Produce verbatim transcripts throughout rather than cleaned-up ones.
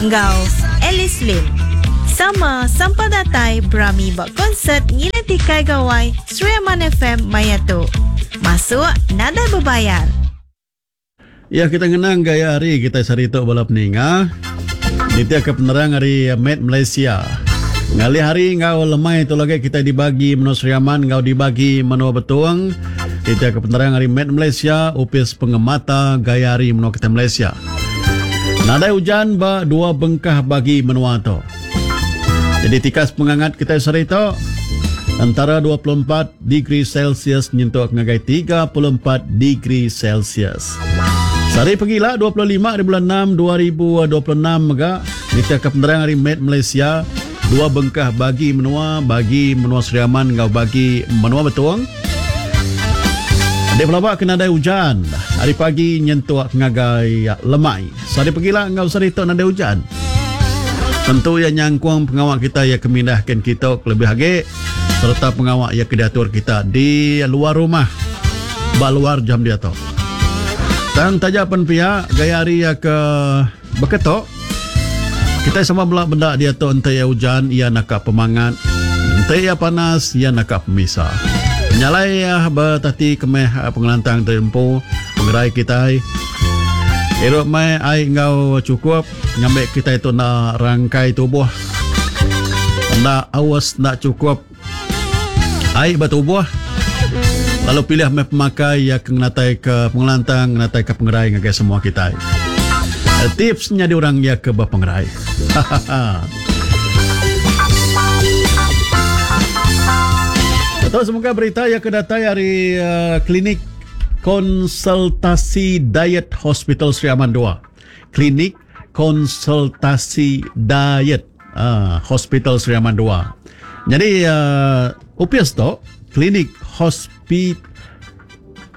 Enggau Alice Lim. Sama sampai datai berami buat konsert Ngiling Tikai Gawai Sri Aman F M maya tu. Masuk nadai berbayar. Ya, kita ngenang gaya hari kita sehari tu bala peninga. Nitiah ke penerang hari Met Malaysia. Ngalih hari ngau lemai tu lagi kita dibagi menua Sri Aman ngau dibagi menua Betung. Nitiah ke penerang hari Met Malaysia, Upis Pengemata Gaya Hari Menua Kita Malaysia. Nadai hujan ba dua bengkah bagi menua tu. Jadi tikas pengangat kita sehari tu antara dua puluh empat degree Celsius nyentuk ngagai tiga puluh empat degree Celsius. Sehari pegila dua puluh lima di bulan enam dua ribu dua puluh enam mega nitiah ke penerang hari Met Malaysia, dua bengkah bagi menua, bagi menua Sri Aman ngau bagi menua Betung. Di pelabak kena ada hujan. Hari pagi nyentuk ngagai lemai. Sehari pegila ngau sehari tu nada hujan. Tentu ia nyangkung pengawak kita ia kemindahkan kita lebih lagi serta pengawak ia kediatur kita di luar rumah ba luar jam dia tu. Tang taja pen pia gaya hari ia ke beketok kita sama belak benda dia tu ente ia hujan ia nakap pemangat, ente ia panas ia nakap pemisa. Nyalai ia bertati kemeh pengelantang terempu pengerai kita. Erok mai ai ngau cukup ngambil kita itu nak rangkai tubuh. Nak awas nak cukup ai bertubuh. Lalu pilih mai pemakai yang ngenatai ke pengelantang, ngenatai ke pengerai ngagai semua kita. Tipsnya di orang ya ke berpengerai. Atau semoga berita yang kedatai dari uh, klinik konsultasi diet Hospital Sri Aman dua. Klinik konsultasi diet uh, Hospital Sri Aman dua. Jadi uh, upias tu klinik hospi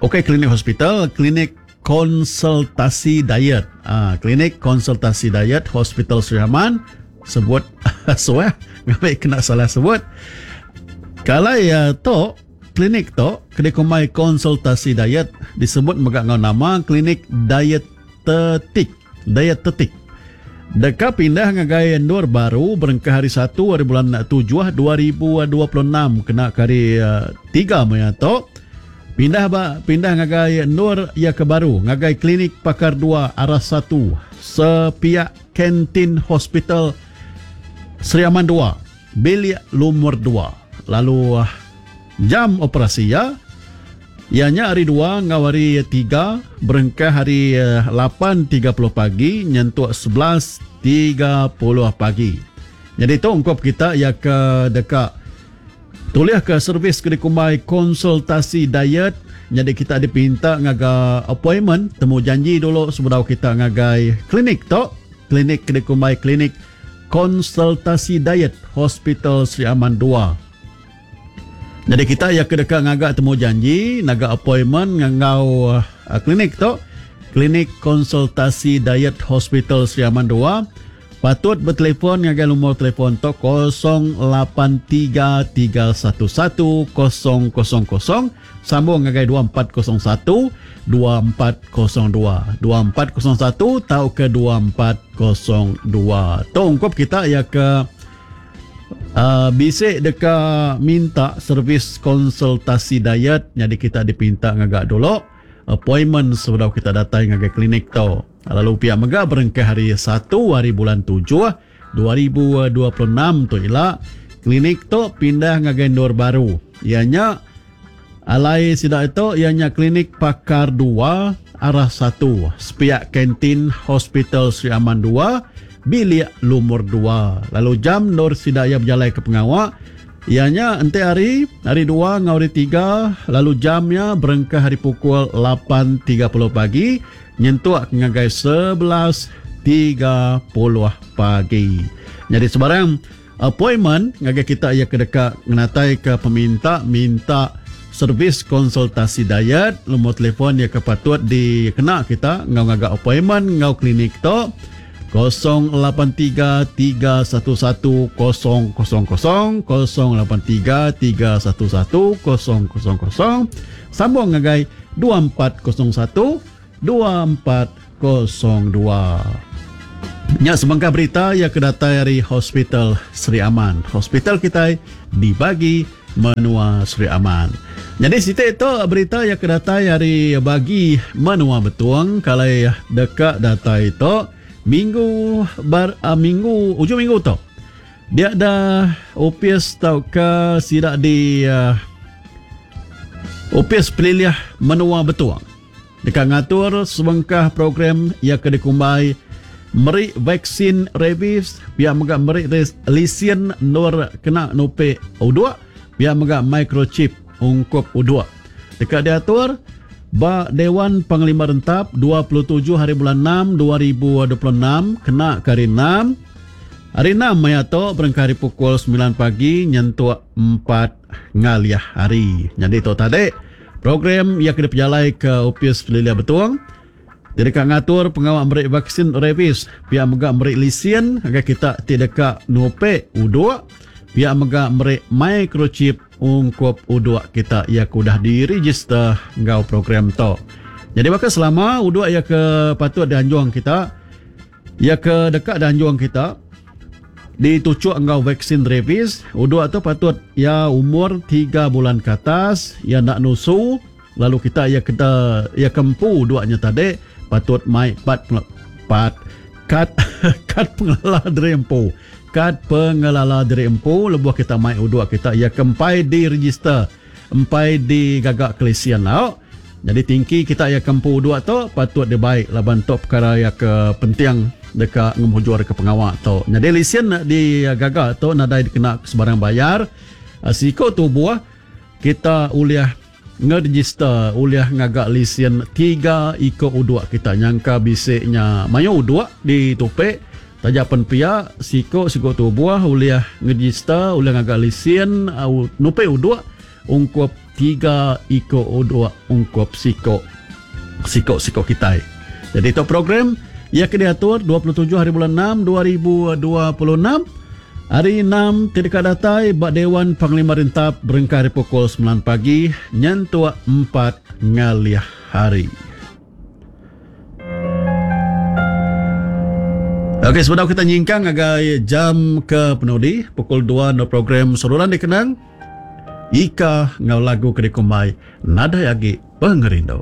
okey klinik hospital, klinik konsultasi diet. Ah, klinik konsultasi diet Hospital Sri Aman sebut suah ngambil kena salah sebut. Kalau ya tu klinik tu kena komai konsultasi diet disebut megak ngau nama klinik dietetik. Dietetik. Deka pindah ngagai endur baru berengkah hari satu hari bulan tujuh dua ribu dua puluh enam kena hari uh, tiga maya tu. Pindah ba pindah ngagai endur ya ke baru ngagai klinik pakar dua arah satu sepiak kantin Hospital Sri Aman dua bilik lumur dua. Lalu uh, jam operasi ya ianya hari dua ngau hari tiga berengkah hari lapan tiga puluh pagi nyentuk sebelas tiga puluh pagi. Jadi tu ungkup kita ya ke dekat tulis ke servis ke dikumbai konsultasi diet. Jadi kita dipinta ngaga appointment, temu janji dulu sebelum kita ngagai klinik tu, klinik ke dikumbai klinik konsultasi diet Hospital Sri Aman dua. Jadi kita ya ke dekat ngagak temu janji, naga appointment ngangau uh, klinik tu, klinik konsultasi diet Hospital Sri Aman dua. Patut bertelefon ngagai nombor telefon tu kosong lapan tiga tiga satu satu kosong kosong kosong sambung ngagai dua empat kosong satu dua empat kosong dua dua empat kosong satu tau ke dua empat kosong dua. Tu ungkup kita ya ke Uh, bisik deka minta servis konsultasi diet, jadi kita dipinta ngagak dulu appointment sebelum kita datang ngagai klinik tu. Lalu pihak mega berengkah hari satu hari bulan tujuh dua ribu dua puluh enam tu ila klinik tu pindah ngagai endur baru. Ianya alai sidak itu ianya klinik pakar dua arah satu sepiak kantin Hospital Sri Aman dua bilik lumur dua. Lalu jam nur sidaya berjalan ke pengawak ianya ente hari hari dua ngau hari tiga, lalu jamnya berengkah hari pukul lapan tiga puluh pagi nyentuk ngagai sebelas tiga puluh pagi. Jadi sebarang appointment ngagai kita ia ke dekat ngenatai ke peminta minta servis konsultasi diet, nombor telefon ia ke patut dikena kita ngau ngagak appointment ngau klinik tu kosong lapan tiga tiga satu satu kosong kosong kosong kosong lapan tiga tiga satu satu kosong kosong kosong sambung ngagai dua empat kosong satu dua empat kosong dua. Nya sebengkah berita yang kedatai dari Hospital Sri Aman. Hospital kita dibagi menua Sri Aman. Jadi siti itu berita yang kedatai dari bagi menua Betuang kalau dekat datai itu minggu bar uh, minggu ujung minggu tu. Dia ada opis tau ke sidak di uh, opis pelilih menua Betuang. Dekat ngatur sebengkah program yang ke dikumbai meri vaksin rabies, pihak mega meri lisen nur kena nupe uduk, pihak mega microchip ungkup uduk. Dekat diatur ba Dewan Panglima Rentap dua puluh tujuh hari bulan enam dua ribu dua puluh enam kena ke hari enam. Hari enam maya tu berengkah hari pukul sembilan pagi nyentuk empat ngaliah hari. Jadi tu tadi program yang kena pejalai ke Opis Pelilih Betuang. Dia dekat ngatur pengawal meri vaksin rabies, pihak mega meri lisen agar kita tidak dekat nupe uduk, pihak mega meri microchip ungkup uduk kita yang udah diregister ngau program tu. Jadi bakal selama uduk yang ke patut dianjung kita, yang ke dekat dianjung kita ditucuk ngau vaksin rabies, uduk tu patut ya umur tiga bulan ke atas, ya nak nusu, lalu kita ya kita ya kempu uduknya tadi patut mai pat pat kad kad pengelola diri empu. Kad pengelola diri empu lebuh kita mai uduk kita ya kempai di register, empai di gagak kelisian lau. Jadi tingki kita ya kempu uduk tu patut dibaik laban tok perkara ya ke penting dekat ngemujur ke pengawal tu. Jadi lisen di gagak tu nadai dikena sebarang bayar. Siko tubuh kita uliah ngeregister uliah ngagak lisen tiga iko uduk kita nyangka bisiknya mayu uduk di topek tajak pen pia siko siko tubuh uliah ngeregister uliah ngagak lisen uh, nupe uduk ungkup tiga iko uduk ungkup siko siko siko kita. Jadi itu program ia kena diatur dua puluh tujuh hari bulan enam dua ribu dua puluh enam. Hari enam tidak datai bak Dewan Panglima Rentap berengkah hari pukul sembilan pagi nyentuk empat ngaliah hari. Okey, sebentar kita nyingkang agai jam ke penudi pukul dua no program saluran dikenang Ika ngau lagu kedikumbai nadai agi pengerindu.